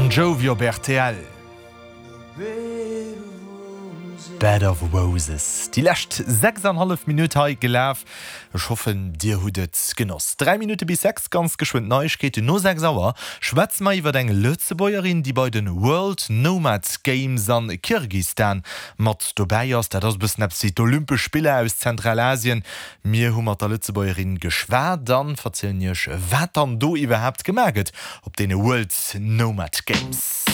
Bon Jovi op rtl. Bed of Roses. Déi lescht 6 an hallef Minutt hei gelaf. Ech hoffen dir hutt et genoss. 3 Minutte bis 6, ganz geschwënn d'Neiegkeeten. No 6 Auer schwätze mer iwwer eng Lëtzebuergerin, déi bei de World Nomad Games an Kirgistan mat dobäi ass. Dat ass e bëssen eppes wéi d'Olympesch Spiller aus Zentralasien. Mir hu mat der Lëtzebuergerin geschwat an verzielen iech wat dann do iwwerhaapt gemaach gëtt op deene World Nomad Games.